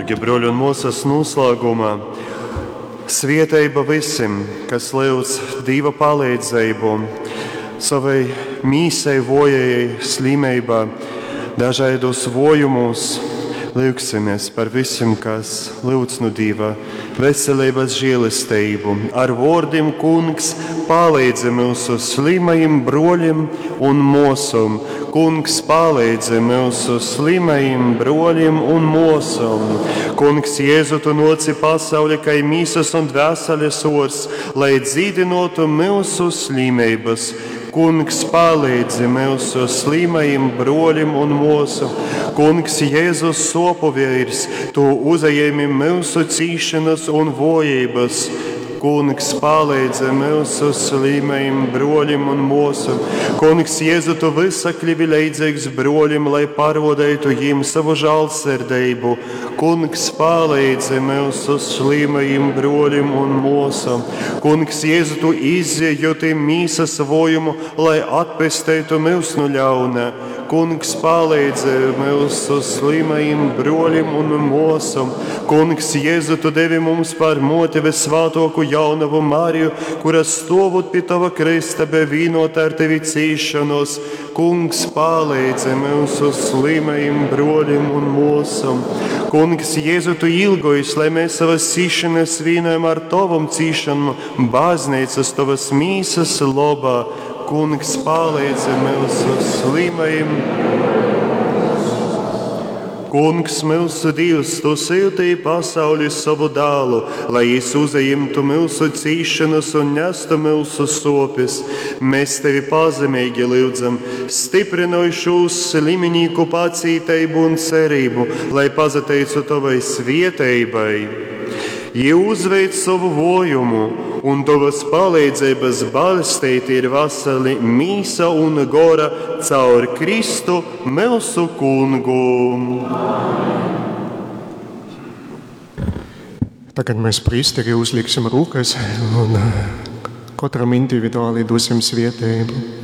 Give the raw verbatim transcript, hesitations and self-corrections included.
Dārgie broļi un mosas, noslēgumā svieteiba vysim, kas lyudz Dīva palīdzību savai mīsai vojajai slimībā, dažādos vojumus. Lūgsimies par visiem, kas lūdz no Dieva veselības žēlastību. Ar vārdiem, Kungs, palīdzi mūsu slimajiem broļiem un mosam. Kungs, palīdzi mūsu slimajiem broļiem un mosam. Kungs, Jēzu, tu noci pasauli, kai mīsas un dvēseles ors, lai dzīdinotu mūsu slimības. Kungs, palīdzi mūsu slimajiem broļiem un mūsu. Kungs, Jēzus sopu vīrs, tu uzajēmi mūsu cīšanas un vojības. Kungs, palīdzi mūsu slimajiem broļiem un mūsu. Kungs, Jēzu, tu visa kļuvi leidzīgs broļiem, lai parodētu jiem savu žālsirdību. Kungs, palīdzi mūsu slimajiem broļiem un mūsu. Kungs, Jēzu, tu izjūti mīsas vojumu, lai atpestētu mūs no ļauna. Kungs, palīdzi mūsu slimajiem broļiem un mūsu. Kungs, Jēzu, tu devi mums par moti visvātoku jaunavu Mariju, kura stovot pie tava krista bija vienota ar tevi cīšanos. Kungs, palīdzi mūsu slimajiem broļiem un mūsam. Kungs, Jēzu, tu ilgojies, lai mēs savas cīšanas vienojam ar tavam cīšanu, baznīcas tavas mīsas lobā. Kungs, palīdzi mūsu slimajiem. Kungs, mūsu Dievs, tu sūtīji pasauli savu dēlu, lai jis uzajimtu mūsu cīšanas un nestu mūsu sopes. Mēs tevi pazemīgi lūdzam, stiprinoj šūs sliminīku pacītību un cerību, lai pazateicu tavai svieteibai. Jie uzveic savu vojumu, un tavas palīdzības balstīti ir vasali mīsa un gora caur Kristu mūsu kungu. Tagad mēs priesteri uzliksim rokas un katram individuāli dosim svētību.